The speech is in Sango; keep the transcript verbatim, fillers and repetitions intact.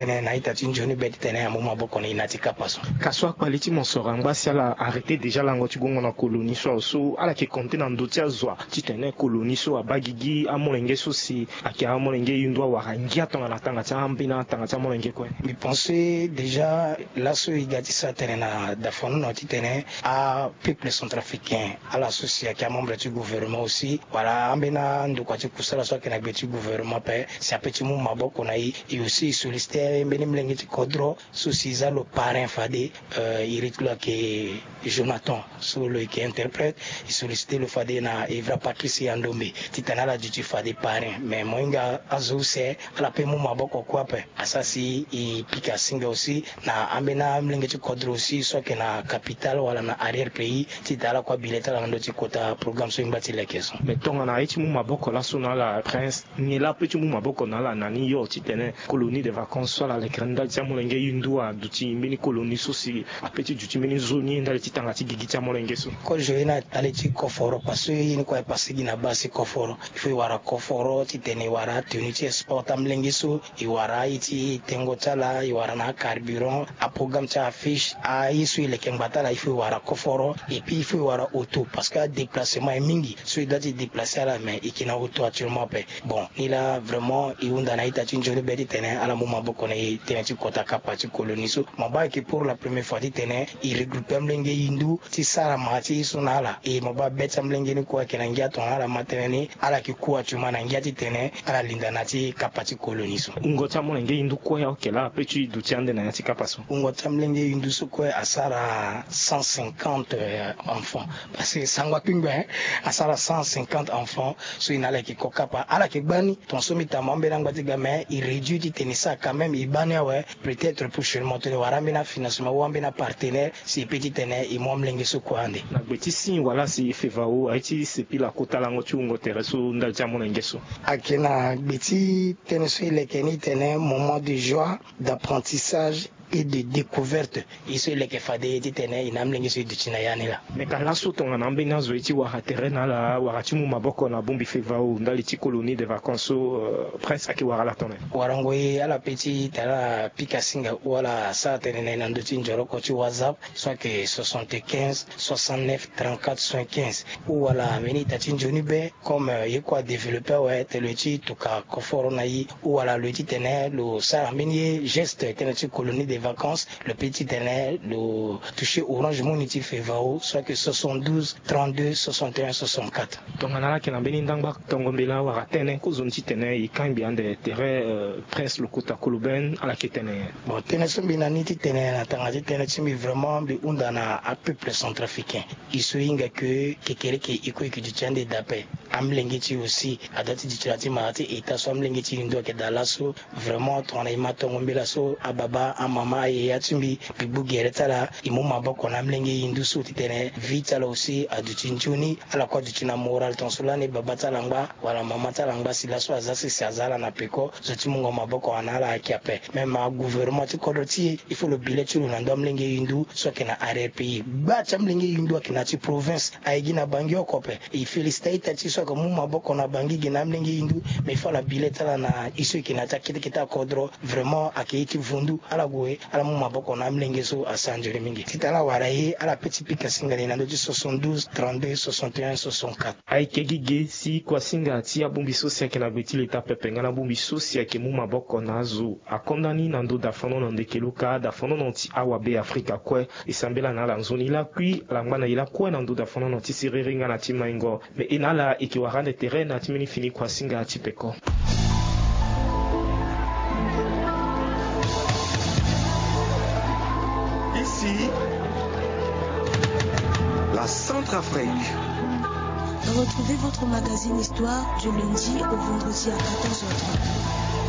tene na ita ti nzoni be titene amu maboko na e na ya ti kapa so. Ka so akpali ti mosoro angba si ala arrêter déjà lango ti gongo na colonie so awe so ala yeke compter na ndö ti azo wa titene colonie so abaa gigi amolenge so si ayeke amolenge hindu awara ngia tongana tanga ti ambeni atanga ti amolenge kue. Mbi pense déjà laso e ga ti sara tënë na dafanono titene apeuple centrafricain ala so si ayeke amembre ti gouvernement aussi wala ambeni andokua ti kusala so ayeke na gbe ti gouvernement ape si ape ti mu maboko na e. E aussi e solliciter mbeni molenge ti kodro so si e za lo parrain fade, euh, iri ti lo ayeke Jonathan so lo yeke interprète. E solliciter lo fade na Evra Patrice Yandombe titene ala duti fade parrain mais mo hinga azo use ala pe mu maboko kue ape. Asara si e pika singa aussi na ambeni amolenge ti kodro aussi so ayeke na capitale wala na arrière pays titene ala kue abile ti ala na ndö ti kota programme so e ngba ti leke so. Mais tongana aye ti mu maboko laso na ala Prince, nyen laa ape ti mu maboko na ala na ni yo titene colonie de vacances so ala lekere ndali ti amolenge hindu aduti mbeni colonie so si ape ti duti mbeni nzoni ndali ti tanga ti gigi ti amolenge so? Kozo ye na ndali ti koforo parce que ye ni kue aye pase gi na baa si koforo. Il faut e wara koforo titene e wara atenue ti sport ti amolenge so, e wara aye ti tengo ti ala, e wara na acarburant, aprogramme ti aaffiche, aye so e leke ngbata ala, il faut e wara koforo. Et puis il faut e wara auto parce que adéplacement aye mingi. So e doit ti déplacer ala mais e yeke na auto actuellement ape. Bon, ni laa vraiment e hunda na ita ti nzoni be titene ala mu maboko na e tënë ti kota kapa ti colonie so. Mo baa ayeke pour la première fois titene e regrouper amolenge hindu ti sara ma ti e so na ala. E mo baa be ti amolenge ni kue ayeke na ngia tongana ala ma tënë ni, ala yeke ku actuellement na ngia titene ala linda na ya ti kapa ti colonie so. Wungo ti amolenge hindu kue ayeke laa ape ti duti ande na ya ti kapa so? Wungo ti amolenge hindu so kue asara cent cinquante, euh, enfants. Parce que sango akpingba, hein, asara cent cinquante enfants so e na ala yeke ko kapa. Ala yeke gba ni, tongaso mbi ta mo ambeni angba ti ga mais e réduit titene e sara quand même e baa ni awe. Peut-être prochainement tene e wara ambeni afinancement ou ambeni apartenaire si e peut titene e mu amolenge so kue ande. Na gbe ti si wala si FEVAO aye ti sepila kota lango ti wungo tere so ndali ti amolenge so? Ayeke na gbe ti tënë so e leke ni tene moment de joie, d'apprentissage et de découverte. E so e leke fade titene e na amolenge so e duti na ya ni laa. Me ka laso tongana ambeni azo ye ti wara tere na ala wala ti mu maboko na bongbi FEVAO ndali ti colonie de vacances so, euh, Prince ayeke wara ala tongana nyen? Warango ye ala pe ti tara pika singa ou ala sara tënë na e na ndö ti nzoroko ti WhatsApp so ayeke soixante-quinze soixante-neuf trente-quatre soixante-quinze ou ala mbeni ita ti nzoni be. Comme, euh, ye kue adéveloppe awe tene lo ye ti tuka koforo na e ou ala lo ye titene lo sara mbeni ye geste tënë ti colonie de vacances, lo peut titene lo toucher Orange Money ti FEVAO so ayeke soixante-douze trente-deux soixante et un soixante-quatre. Tongana ala yeke na mbeni ndangba tongo mbela wala tënë kozoni titene e kangbi ande tere, euh, Prince Lokota Koloben, ala yeke tene nyen? Bon, tënë so mbi na ni titene na tanga ti tënë ti mbi vraiment mbi hunda na apeuple centrafricain. E so e hinga ke kekereke e kue e yeke duti ande daa ape. Amolenge ti e aussi adoit ti duti na ya ti mara ti état so amolenge ti e ndo ayeke daa laso. Vraiment tongana e ma tongo mbela so ababa amama ayaya ti mbi, mbi gbu gere ti ala e mu maboko na amolenge hindu so titene vie ti ala aussi aduti nzoni. Ala kue aduti na moral tongaso lani baba ti ala angba wala mama ti ala angba si laso aza sese aza ala na peko. Zo ti mungo maboko na ala ayeke ape. Même agouvernement ti kodro ti e il faut lo bi le ti lo na ndö amolenge hindu so ayeke na arrière pays. Gba ti amolenge hindu ayeke na ya ti province, aye gi na Bangui oko ape. E féliciter a-ita ti e so ayeke mu maboko na Bangui gi na amolenge hindu. Mais il faut ala bi le ti ala na e so e yeke na ya ti akete kete akodro. Vraiment ayeke ye ti vundu. Ala gue ala mu maboko na amolenge so asara nzoni mingi. Titene ala wara ye ala pe ti pika singa na e na ndö ti soixante-douze trente-deux soixante et un soixante-quatre. Ayeke gi ge si kuasinga ti abongbi so si ayeke na gbe ti leta pepe nga na abongbi so si ayeke mu maboko na azo akonda ni na ndö dafanono ndeke luka dafanono ti awabe afrika kue. E sambela na ala nzoni lakui ala ngba na e lakue na ndö dafanono ti siriri nga na ti maingo. Me e na ala e yeke wara ande tere na ya ti mbeni fini kuasinga ti peko. Ici, la Centrafrique. Retrouvez votre magazine Histoire du lundi au vendredi à quatorze heures trente.